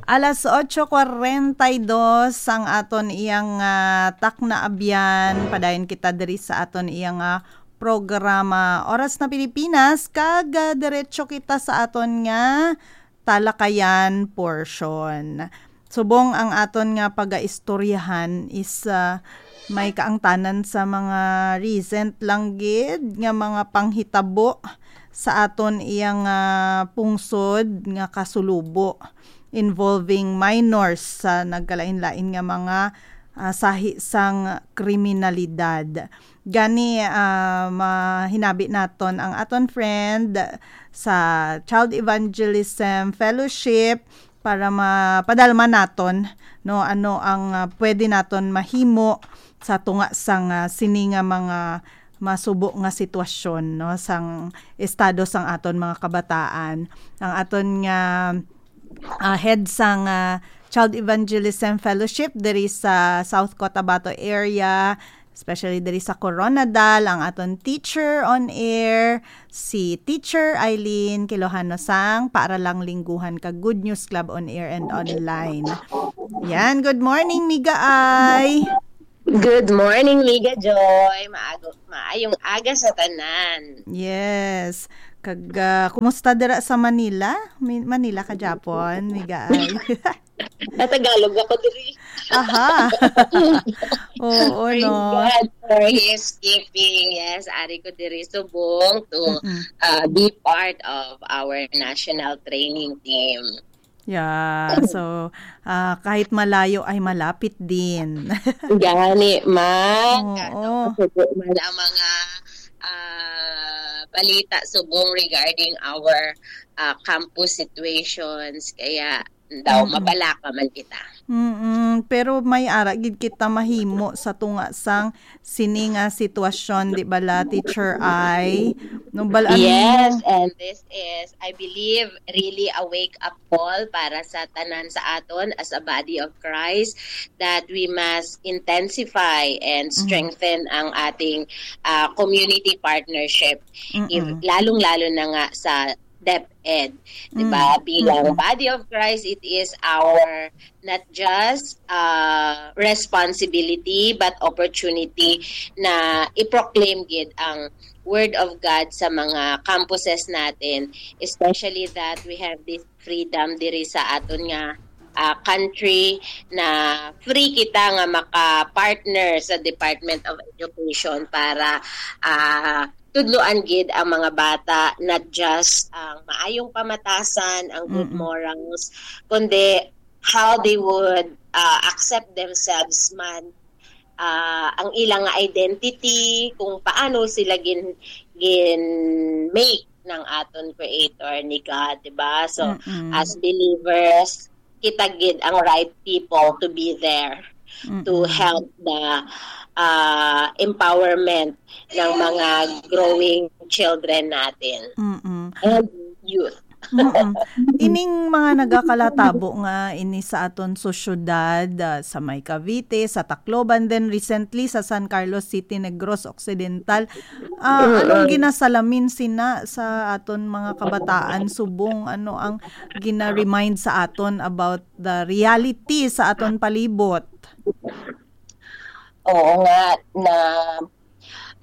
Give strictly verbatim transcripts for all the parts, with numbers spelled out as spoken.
Alas otso cuarenta y dos ang aton iyang, ah, takna abyan. Padayon kita diri sa aton iyang, ah, programa Oras na Pilipinas, kag, ah, diretso kita sa aton nga talakayan portion. Subong ang aton nga pagaistoryahan is, ah, may kaangtanan sa mga recent lang gid nga mga panghitabo sa aton iyang, ah, pungsod nga Kasulubo, involving minors sa nagkalain-lain nga mga, ah, sahi sang kriminalidad. Gani, ah, mahinabi naton ang aton friend sa Child Evangelism Fellowship para mapadalman naton, no, ano ang, ah, pwede naton mahimo sa tunga sang, ah, sini nga mga masubo nga sitwasyon, no, sang estado sang aton mga kabataan. Ang aton nga, ah, head sang, ah, Child Evangelism Fellowship diri sa South Cotabato area, especially diri sa Koronadal, ang aton teacher on air, si Teacher Eileen Quilojano sang Paaralang Lingguhan kag Good News Club on air and online. Yan, good morning, Miga Ay. Good morning, Miga Joy. Maago, maayong aga sa tanan. Yes. Kag, ah, kumusta dira sa Manila? Mi-, Manila ka, Japon, Miga Ay? Natagalog ako diri. Aha. Oo, Praise no. God for His keeping. Yes, ari ko diri subong to Mm-mm. uh, be part of our national training team. Yeah, so ah, kahit malayo ay malapit din. Gani, ma. Oo. Ano, subo man ang mga ah, balita subong regarding our ah, campus situations. Kaya daw, Mm-mm. mabalaka man kita. Mm-mm. Pero may ara gid kita mahimo sa tunga sang sini nga sitwasyon, di ba la, Teacher Ay? No, bal-, ano Yes, yung- and this is, I believe, really a wake-up call para sa tanan sa aton as a body of Christ, that we must intensify and Mm. strengthen ang ating ah, community partnership, if, Mm-mm. lalong-lalo na nga sa DepEd, di ba? Mm. Bilang Mm-mm. body of Christ, it is our not just uh, responsibility but opportunity na i-proclaim gid ang Word of God sa mga campuses natin, especially that we have this freedom diri sa aton nga ah, country, na free kita nga maka-partner sa Departman of Education para ah, tudloan gid ang mga bata, not just ang maayong pamatasan, ang good Mm-mm. morals, kundi how they would ah, accept themselves man, ah, ang ilang identity, kung paano sila gin gin make ng aton Creator, ni God, di ba? So, Mm-mm. as believers, kita gid ang right people to be there to Mm-mm. help the ah, empowerment ng mga growing children natin Mm-mm. and youth. Mm-mm. Ining mga nagakalatabo nga ini sa aton sosyedad, ah, sa may Cavite, sa Tacloban, then recently sa San Carlos City, Negros Occidental, ah, anong Mm-mm. ginasalamin sina sa aton mga kabataan subong? Ano ang gina-remind sa aton about the reality sa aton palibot? Oo nga, na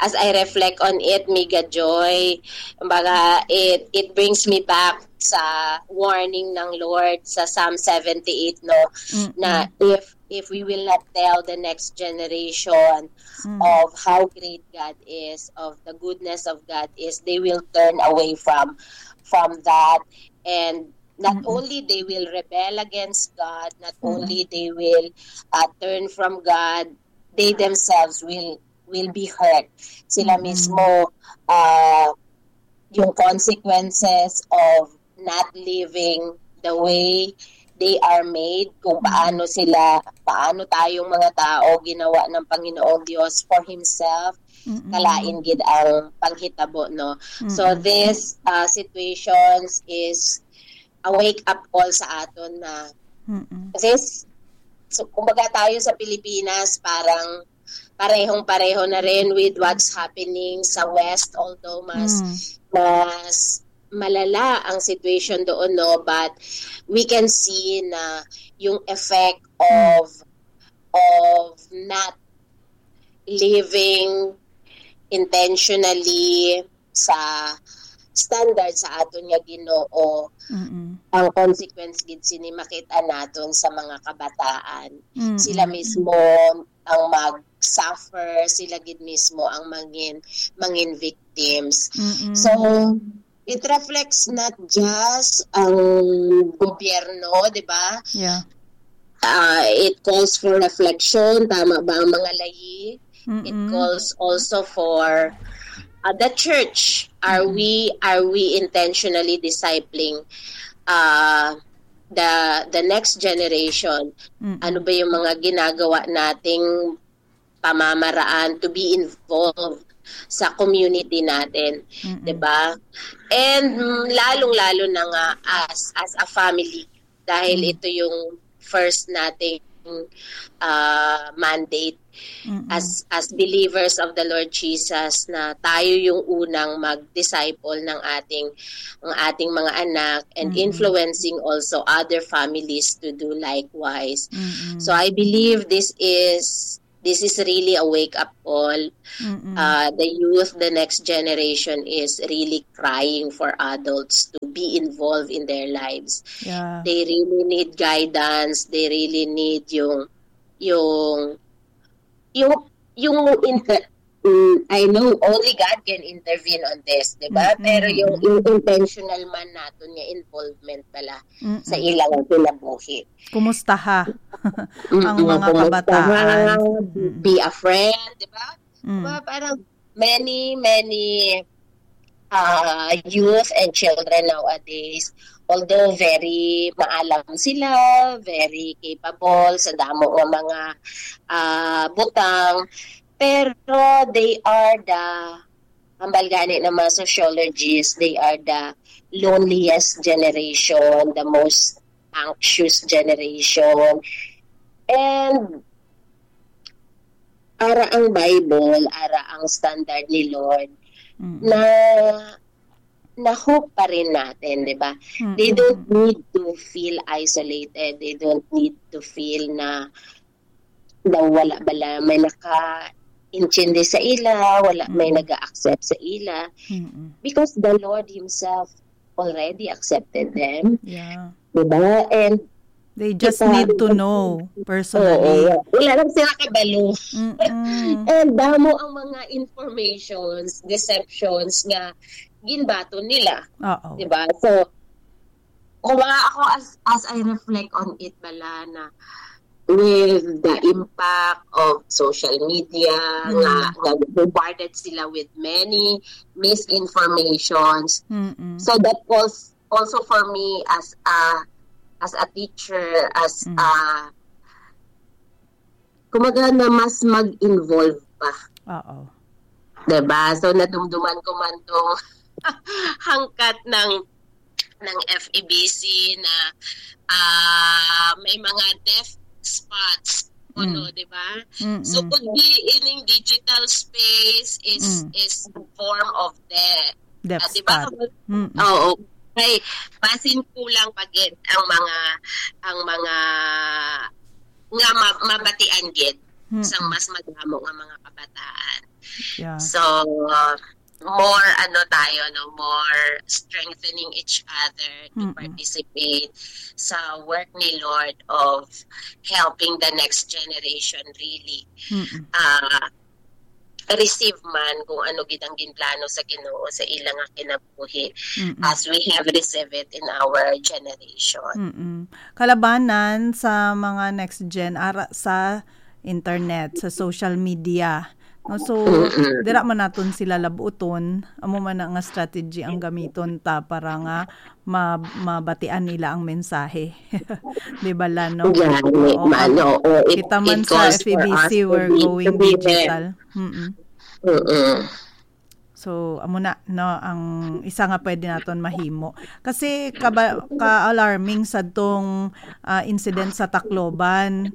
as I reflect on it, Miga Joy, kumbaga, it, it brings me back sa warning ng Lord sa Psalm seventy-eight, no, Mm-mm. na if if we will not tell the next generation Mm. of how great God is, of the goodness of God is, they will turn away from from that, and not Mm-mm. only they will rebel against God, not Mm-mm. only they will uh, turn from God, they themselves will will be hurt. Sila Mm-mm. mismo, uh, yung consequences of not living the way they are made, kung Mm-mm. paano sila, paano tayong mga tao ginawa ng Panginoong Diyos for Himself, Mm-mm. kalain gid ang panghitabo, no? So Mm-mm. this uh, situations is a wake-up call sa aton na Mm-mm. kasi s- so, kumbaga tayo sa Pilipinas, parang parehong-pareho na rin with what's happening sa West, although mas Mm. mas malala ang situation doon, no? But we can see na yung effect of of not living intentionally sa standard sa aton nga Ginoo, Mm-mm. ang consequence gid sini makita naton sa mga kabataan. Mm-mm. Sila mismo ang mag-suffer, sila gid mismo ang mangin mangin victims. Mm-mm. So, it reflects not just ang gobyerno, di ba? Yeah. Uh, it calls for reflection. Tama ba ang mga layi? Mm-mm. It calls also for uh, the church. Are Mm-mm. we are we intentionally discipling uh, the the next generation? Mm-mm. Ano ba yung mga ginagawa nating pamamaraan to be involved sa community natin, Mm-mm. 'di ba? And mm, lalong-lalo na nga as as a family, dahil Mm. ito yung first nating uh, mandate Mm-mm. as as believers of the Lord Jesus, na tayo yung unang mag-disciple ng ating ng ating mga anak and Mm-mm. influencing also other families to do likewise. Mm-mm. So I believe this is this is really a wake up call. Mm-mm. Uh, the youth, the next generation is really crying for adults to be involved in their lives. Yeah. They really need guidance. They really need yung yung yung yung inter- Mm, I know only God can intervene on this, di ba? Mm-mm. Pero yung, yung intentional man naton nga involvement pala Mm-mm. sa ilang kinabuhi. Kumusta ha ang Mm, mga kumusta kabataan? Ha? Mm. Be a friend, di ba? Mm. Diba? Parang many, many uh, youth and children nowadays, although very maalam sila, very capable sa damo nga mga uh, butang, pero they are the, hambal gani ng mga sociologists, they are the loneliest generation, the most anxious generation. And ara ang Bible, ara ang standard ni Lord, Mm-mm. na na hope pa rin natin, di ba? Mm-mm. They don't need to feel isolated. They don't need to feel na na wala bala may nakaintindi sa ila, wala may Mm-mm. nag-accept sa ila. Mm-mm. Because the Lord Himself already accepted them. Yeah. Diba? And They just kita, need to know personally. Oo, wala lang sila kabalo. Mm-mm. And damo ang mga informations, deceptions nga ginbaton nila. Oo. Diba? So, kung mga ako, as, as I reflect on it, bala na with the impact of social media, Mm. nga, nga bombarded sila with many misinformations. Mm-mm. So that calls also for me as a as a teacher, as Mm. a, kumbaga na mas mag-involve pa. Oo. Diba? So, nadumduman ko man tong hangkat ng ng F E B C na ah, may mga deaf spots. Kuno, Mm. di ba? Mm-mm. So, could be ining digital space is Mm. is form of death. Death Ah, di ba? spot. Mm-mm. Oo. Kay basin kulang pa gid ang mga ang mga nga ma- mabatian gid Mm-mm. sang mas madamo nga mga kabataan. Yeah. So, uh, more ano tayo, no, more strengthening each other to Mm-mm. participate sa work ni Lord of helping the next generation really Mm-mm. uh, receive man kung ano gid ang ginplano sa Ginoo sa ila nga kinabuhi Mm-mm. as we have received it in our generation. Mm-mm. Kalabanan sa mga next gen ara sa internet, sa social media. No, so Mm-mm. dira man naton sila labuton, amo man na nga strategy ang gamiton ta para nga ma- mabatian nila ang mensahe. Di ba, Lano? Gani Oo, man, kag oo. It, kita man it sa calls for F E B C, us to we're be, going to be there. digital. Mm-mm. Mm-mm. So, amo na, no, ang isa nga pwede naton mahimo. Kasi kaba- ka-alarming sa tong ah, incident sa Tacloban.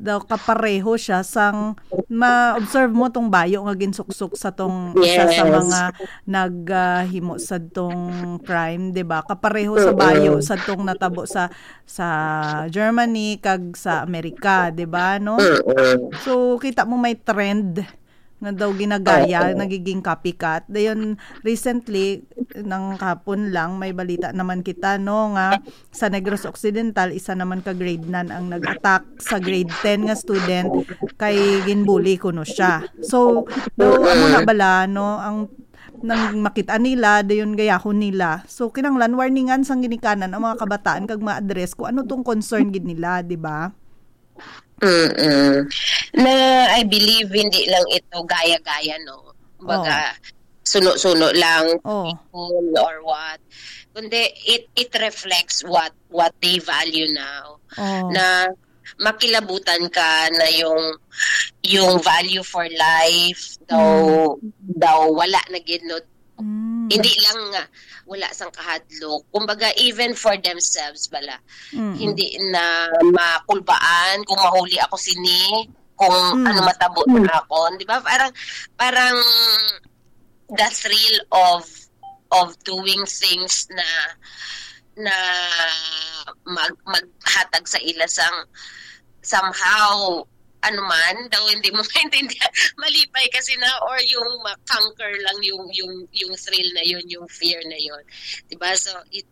daw kapareho siya sang ma-observe mo tong bayo nga ginsuksok sa tong isa sa Yes. mga naghimo sa tong crime, 'di ba? Kapareho sa bayo Mm-mm. sa tong natabo sa sa Germany kag sa Amerika, 'di ba, no? Mm-mm. So kita mo may trend nga daw ginagaya, Oo. nagiging copycat. Dayon, recently, nang kapon lang, may balita naman kita, no, nga sa Negros Occidental, isa naman ka grade nine ang nag-attack sa grade ten nga student kay ginbully kuno siya. So, daw amo na Mm-mm. bala, no, ang nang makita nila, dayon gayahon nila. So, kinahanglan warningan sang ginikanan ang mga kabataan kag ma-address kung ano tong concern gid nila, 'di ba? Mm-mm. Na I believe hindi lang ito gaya-gaya, no? Oh. Baga, suno-suno lang, Oh. people or what. Kundi it it reflects what what they value now. Oh. Na makilabutan ka na yung yung value for life daw daw wala na gid, no? Mm. Hindi lang nga wala sang kahadlok. Kumbaga, even for themselves bala. Mm. Hindi na makulbaan kung mahuli ako sini, kung Mm. ano matabo na ako. Di ba? Parang, parang the thrill of of doing things na na mag maghatag sa ila sang somehow ano man daw hindi mo maintindihan, malipay kasi na, or yung ma-conquer lang yung yung yung thrill na yun, yung fear na yun, di ba? So it